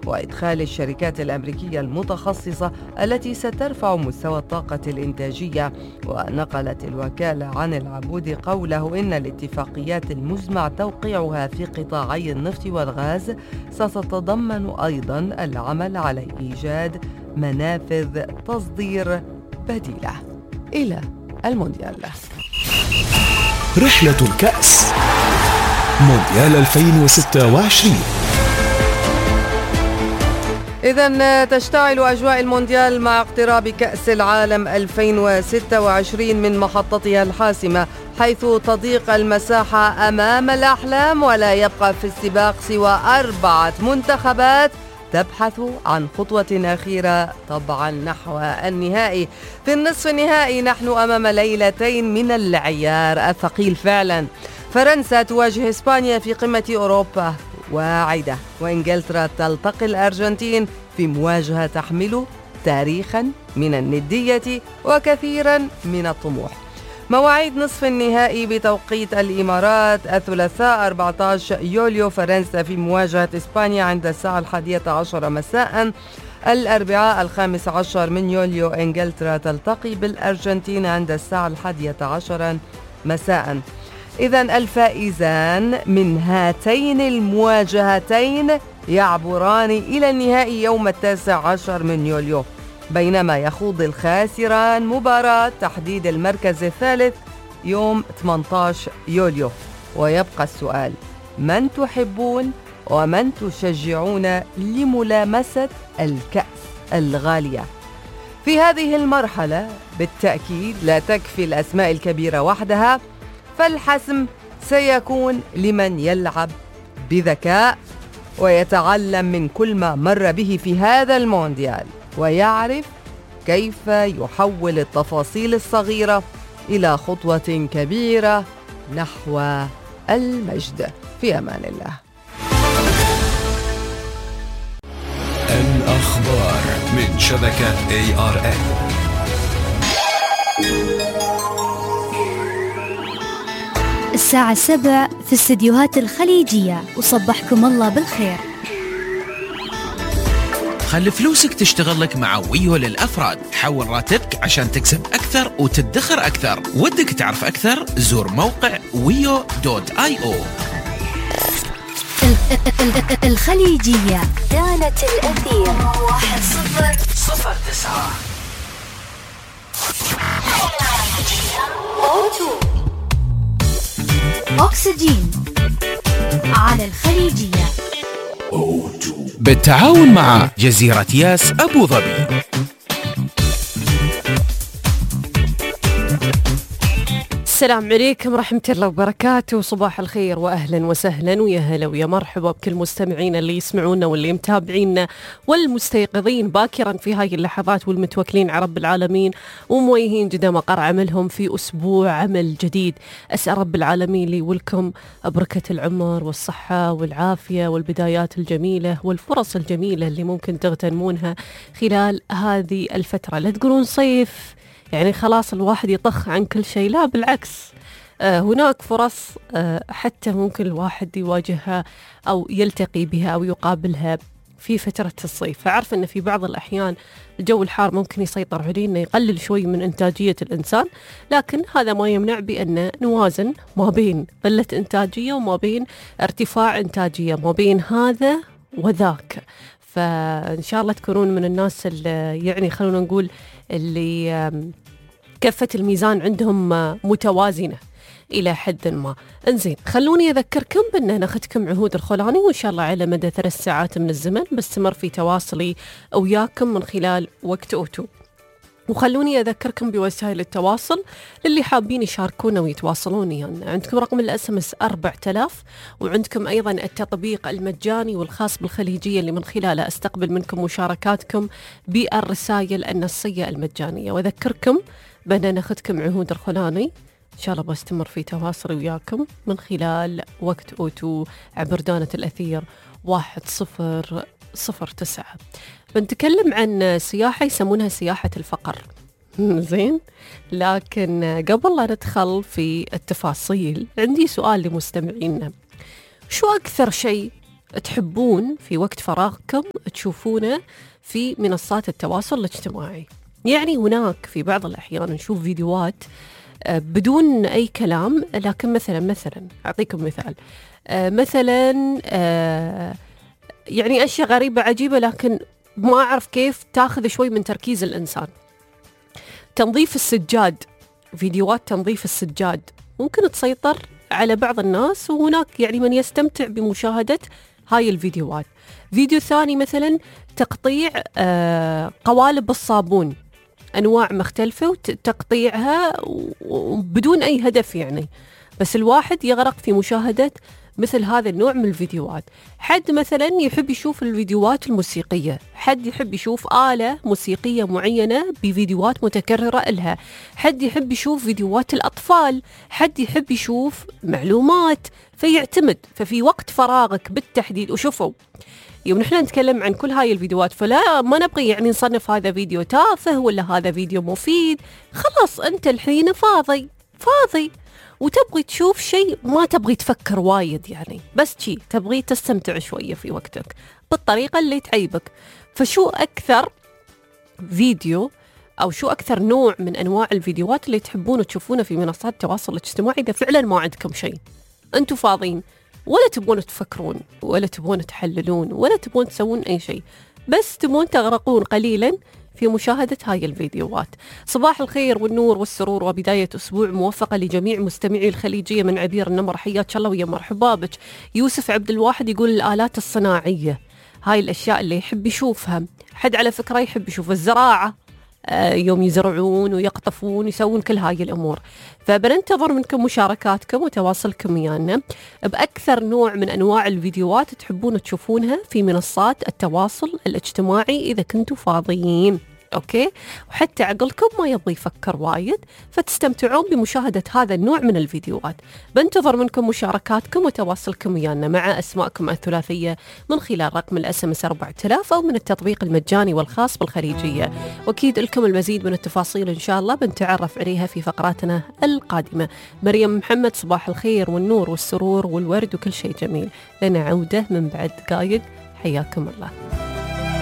وإدخال الشركات الأمريكية المتخصصة التي سترفع مستوى الطاقة الإنتاجية. ونقلت الوكالة عن العبود قوله إن الاتفاقيات المزمع توقيعها في قطاعي النفط والغاز ستتضمن أيضاً العمل على إيجاد منافذ تصدير بديلة. إلى المونديال. رحلة الكأس مونديال 2026. إذن تشتعل أجواء المونديال مع اقتراب كأس العالم 2026 من محطتها الحاسمة، حيث تضيق المساحة أمام الأحلام ولا يبقى في السباق سوى 4 منتخبات تبحث عن خطوة أخيرة طبعا نحو النهائي. في النصف النهائي نحن أمام ليلتين من العيار الثقيل فعلا. فرنسا تواجه إسبانيا في قمة أوروبا واعدة، وإنجلترا تلتقي الأرجنتين في مواجهة تحمل تاريخا من الندية وكثيرا من الطموح. مواعيد نصف النهائي بتوقيت الإمارات: الثلاثاء 14 يوليو فرنسا في مواجهة إسبانيا عند الساعة 11 مساء. الأربعاء 15 من يوليو إنجلترا تلتقي بالأرجنتين عند الساعة 11 مساء. إذن الفائزان من هاتين المواجهتين يعبران إلى النهائي يوم 19 من يوليو، بينما يخوض الخاسران مباراة تحديد المركز الثالث يوم 18 يوليو. ويبقى السؤال: من تحبون ومن تشجعون لملامسة الكأس الغالية؟ في هذه المرحلة بالتأكيد لا تكفي الأسماء الكبيرة وحدها، فالحسم سيكون لمن يلعب بذكاء ويتعلم من كل ما مر به في هذا المونديال، ويعرف كيف يحول التفاصيل الصغيرة إلى خطوة كبيرة نحو المجد. في أمان الله. الأخبار من شبكة ARN. الساعة 7 في استديوهات الخليجية، وصبحكم الله بالخير. خلي فلوسك تشتغل لك مع ويو للأفراد. حول راتبك عشان تكسب أكثر وتدخر أكثر. ودك تعرف أكثر؟ زور موقع wio.io. الخليجية كانت الأثير 1009. أكسجين على الخليجية بالتعاون مع جزيرة ياس أبو ظبي. السلام عليكم ورحمة الله وبركاته، صباح الخير وأهلا وسهلا ويا هلا ويا مرحبا بكل مستمعين اللي يسمعونا واللي متابعينا والمستيقظين باكرا في هاي اللحظات والمتوكلين على رب العالمين ومويهين جدا مقر عملهم في أسبوع عمل جديد. أسأل رب العالمين لي ولكم بركة العمر والصحة والعافية والبدايات الجميلة والفرص الجميلة اللي ممكن تغتنمونها خلال هذه الفترة. لا تقولون صيف يعني خلاص الواحد يطخ عن كل شيء، لا بالعكس، هناك فرص حتى ممكن الواحد يواجهها أو يلتقي بها أو يقابلها في فترة الصيف. فعرف أن في بعض الأحيان الجو الحار ممكن يسيطر علينا، يقلل شوي من إنتاجية الإنسان، لكن هذا ما يمنع بأن نوازن ما بين قلة إنتاجية وما بين ارتفاع إنتاجية، ما بين هذا وذاك. فإن شاء الله تكونون من الناس اللي يعني خلونا نقول اللي كفة الميزان عندهم متوازنة إلى حد ما. انزين، خلوني أذكركم بأن ناخذكم عهود الخولاني، وإن شاء الله على مدى 3 ساعات من الزمن بستمر في تواصلي وياكم من خلال وقت أوتو. وخلوني أذكركم بوسائل التواصل للي حابين يشاركونا ويتواصلون يعني. عندكم رقم الSMS 4000، وعندكم أيضا التطبيق المجاني والخاص بالخليجية اللي من خلاله أستقبل منكم مشاركاتكم بالرسائل النصية المجانية. وأذكركم بأن ناخذكم عهود الخولاني إن شاء الله بستمر في تواصلي وياكم من خلال وقت أوتو عبر دانة الأثير 1009. بنتكلم عن سياحة يسمونها سياحة الفقر. زين، لكن قبل لا ندخل في التفاصيل عندي سؤال لمستمعينا: شو أكثر شيء تحبون في وقت فراغكم تشوفونه في منصات التواصل الاجتماعي؟ يعني هناك في بعض الأحيان نشوف فيديوهات بدون أي كلام، لكن مثلا أعطيكم مثال، مثلا يعني أشياء غريبة عجيبة، لكن ما أعرف كيف تاخذ شوي من تركيز الإنسان. تنظيف السجاد، فيديوهات تنظيف السجاد ممكن تسيطر على بعض الناس، وهناك يعني من يستمتع بمشاهدة هاي الفيديوهات. فيديو ثاني مثلا تقطيع قوالب الصابون، أنواع مختلفة وتقطيعها بدون أي هدف يعني، بس الواحد يغرق في مشاهدة مثل هذا النوع من الفيديوهات. حد مثلا يحب يشوف الفيديوهات الموسيقية، حد يحب يشوف آلة موسيقية معينة بفيديوهات متكررة إلها، حد يحب يشوف فيديوهات الأطفال، حد يحب يشوف معلومات، فيعتمد. ففي وقت فراغك بالتحديد، وشوفوا يوم نحن نتكلم عن كل هاي الفيديوهات فلا ما نبغي يعني نصنف هذا فيديو تافه ولا هذا فيديو مفيد. خلاص أنت الحين فاضي وتبغي تشوف شيء، ما تبغي تفكر وايد يعني، بس شيء تبغي تستمتع شوية في وقتك بالطريقة اللي تعيبك. فشو أكثر فيديو أو شو أكثر نوع من أنواع الفيديوهات اللي تحبون تشوفونه في منصات التواصل الاجتماعي إذا فعلا ما عندكم شيء، أنتوا فاضيين، ولا تبغون تفكرون ولا تبغون تحللون ولا تبغون تسوون أي شيء، بس تبغون تغرقون قليلا في مشاهدة هاي الفيديوهات؟ صباح الخير والنور والسرور وبداية أسبوع موفقة لجميع مستمعي الخليجية من عبير النمر، حياك الله ويا مرحبا بك. يوسف عبد الواحد يقول الآلات الصناعية، هاي الأشياء اللي يحب يشوفها. حد على فكرة يحب يشوف الزراعة، يوم يزرعون ويقطفون يسوون كل هاي الأمور. فبننتظر منكم مشاركاتكم وتواصلكم ويانا بأكثر نوع من أنواع الفيديوهات تحبون تشوفونها في منصات التواصل الاجتماعي إذا كنتوا فاضيين. أوكي، وحتى عقلكم ما يبغى يفكر وايد فتستمتعون بمشاهدة هذا النوع من الفيديوهات. بنتظر منكم مشاركاتكم وتواصلكم ويانا مع أسماءكم الثلاثية من خلال رقم الSMS 4000 أو من التطبيق المجاني والخاص بالخليجية. وأكيد لكم المزيد من التفاصيل إن شاء الله بنتعرف عليها في فقراتنا القادمة. مريم محمد، صباح الخير والنور والسرور والورد وكل شيء جميل، لنا عودة من بعد دقايق، حياكم الله.